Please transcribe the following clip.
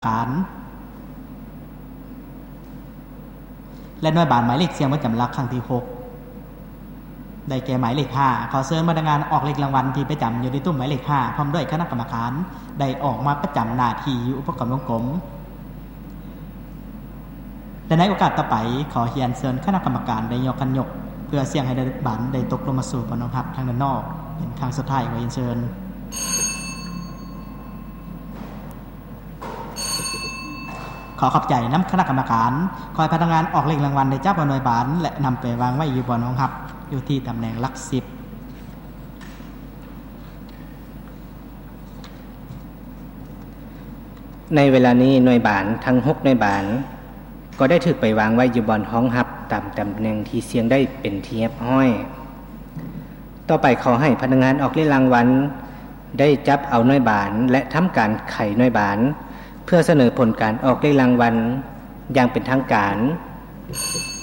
ການ ແລະ ໜ່ວຍບານໝາຍເລກສ່ຽງປະຈຳຫຼັກຄັ້ງທີຫົກ ໄດ້ແກ່ໝາຍເລກຫ້າ. ຂໍເຊີນພະນັກງານອອກເລກລາງວັນທີ່ປະຈຳຢູ່ໃນຕຸ້ມໝາຍເລກຫ້າ ພ້ອມດ້ວຍຄະນະກຳມະການ ໄດ້ອອກມາປະຈຳໜ້າທີ່ຢູ່ອຸປະກອນວົງກົມ. ແລະ ໃນໂອກາດຕໍ່ໄປ, ຂໍຮຽນເຊີນຄະນະກຳມະການໄດ້ຍົກຄັນຍົກ ເພື່ອສ່ຽງໃຫ້ໜ່ວຍບານໄດ້ຕົກລົງມາສູ່ບ່ອນຮອງຮັບທາງດ້ານນອກ ເປັນຄັ້ງສຸດທ້າຍ. ຂໍຮຽນເຊີນ. ຂໍຂອບໃຈນຳຄະນະກຳມະການ. ຂໍໃຫ້ພະນັກງານອອກເລກລາງວັນໄດ້ຈັບເອົາໜ່ວຍບານ ແລະ ນຳໄປວາງໄວ້ຢູ່ບ່ອນຮອງຮັບ ຢູ່ທີ່ຕຳແໜ່ງຫຼັກສິບ. ໃນເວລານີ້ໜ່ວຍບານທັງຫົກໜ່ວຍບານ ກໍໄດ້ຖືກໄປວາງໄວ້ຢູ່ບ່ອນຮອງຮັບຕາມຕຳແໜ່ງທີ່ສ່ຽງໄດ້ເປັນທີ່ຮຽບຮ້ອຍ. ຕໍ່ໄປຂໍໃຫ້ພະນັກງານອອກເລກລາງວັນໄດ້ຈັບເອົາໜ່ວຍບານ ແລະ ທຳການໄຂໜ່ວຍບານ ເພື່ອສະເໜີຜົນການອອກເລກລາງວັນຢ່າງເປັນທາງການ.